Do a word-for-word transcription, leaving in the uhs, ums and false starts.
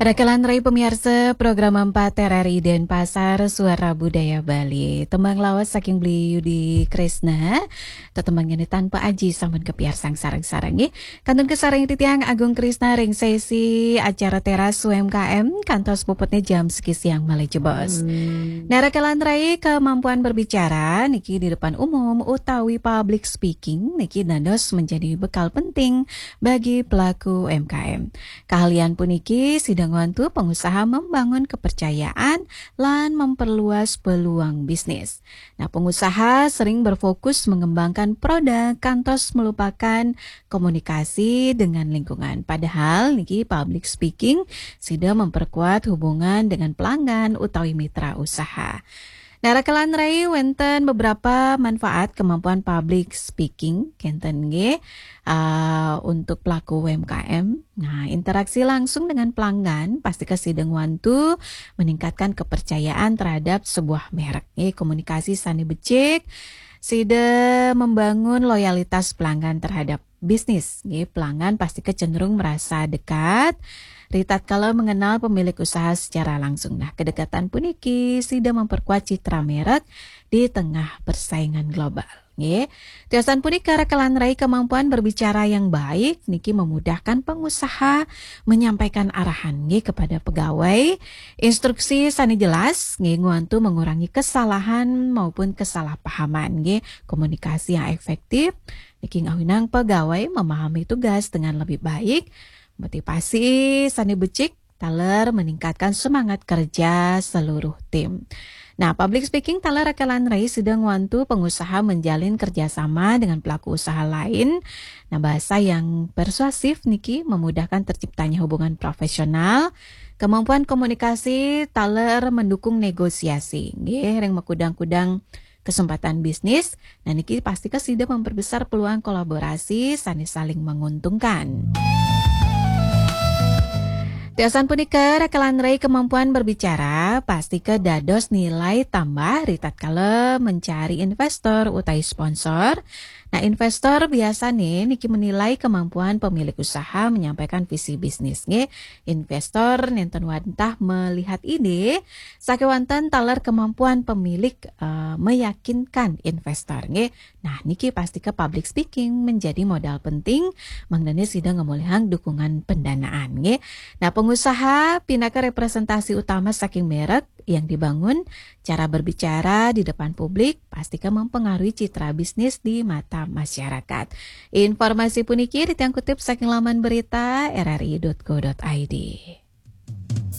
Rakalan rai pamiarsa program empat R R I Denpasar, Suara Budaya Bali. Tembang lawas saking Beli Yudi Kresna, tetembang ini tanpa aji sampun kepiarsang sareng-sareng nggih. Kantun kasarengin titiang Agung Kresna ring sesi acara Teras U M K M, kantos puputnya jam siki siang malih jebos. Hmm. Nah, rakalan rai, kemampuan berbicara niki di depan umum utawi public speaking niki dados menjadi bekal penting bagi pelaku U M K M. Keahlian puniki sida ngwantu pengusaha membangun kepercayaan lan memperluas peluang bisnis. Nah, pengusaha sering berfokus mengembangkan produk kantos melupakan komunikasi dengan lingkungan. Padahal niki public speaking sida memperkuat hubungan dengan pelanggan utawi mitra usaha. Nah, rakalan rai, wenten beberapa manfaat kemampuan public speaking, kenten nggih, ah, untuk pelaku U M K M. Nah, interaksi langsung dengan pelanggan pasti sida ngwantu meningkatkan kepercayaan terhadap sebuah merek nggih. Komunikasi sane becik, sida membangun loyalitas pelanggan terhadap bisnis nggih. Pelanggan pasti cenderung merasa dekat ritatkala mengenal pemilik usaha secara langsung. Nah, kedekatan puniki sida memperkuat citra merek di tengah persaingan global nggih. Tiosan punika, rakalan rai, kemampuan berbicara yang baik niki memudahkan pengusaha menyampaikan arahan nggih kepada pegawai. Instruksi sane jelas nggih ngwantu mengurangi kesalahan maupun kesalahpahaman nggih. Komunikasi yang efektif niki ngawinang pegawai memahami tugas dengan lebih baik, motivasi sane becik taler meningkatkan semangat kerja seluruh tim. Nah, public speaking taler, rakalan rai, sida ngwantu pengusaha menjalin kerjasama dengan pelaku usaha lain. Nah, bahasa yang persuasif niki memudahkan terciptanya hubungan profesional. Kemampuan komunikasi taler mendukung negosiasi nggih ring makudang-kudang kesempatan bisnis. Nah, niki pasti sida memperbesar peluang kolaborasi sane saling menguntungkan. Tiosan punika, rakalan rai, kemampuan berbicara pasti dados nilai tambah ritatkala mencari investor utawi sponsor. Nah, investor biasane niki menilai kemampuan pemilik usaha menyampaikan visi bisnis nggih. Investor nenten wantah melihat ide, sakewanten taler kemampuan pemilik, eh, meyakinkan investor nggih. Nah, niki pasti public speaking menjadi modal penting mangdane sida ngamolihang dukungan pendanaan nggih. Nah, pengusaha pinaka representasi utama saking merek yang dibangun, cara berbicara di depan publik pasti mempengaruhi citra bisnis di mata masyarakat. Informasi puniki titiang kutip saking laman berita R R I dot co dot I D.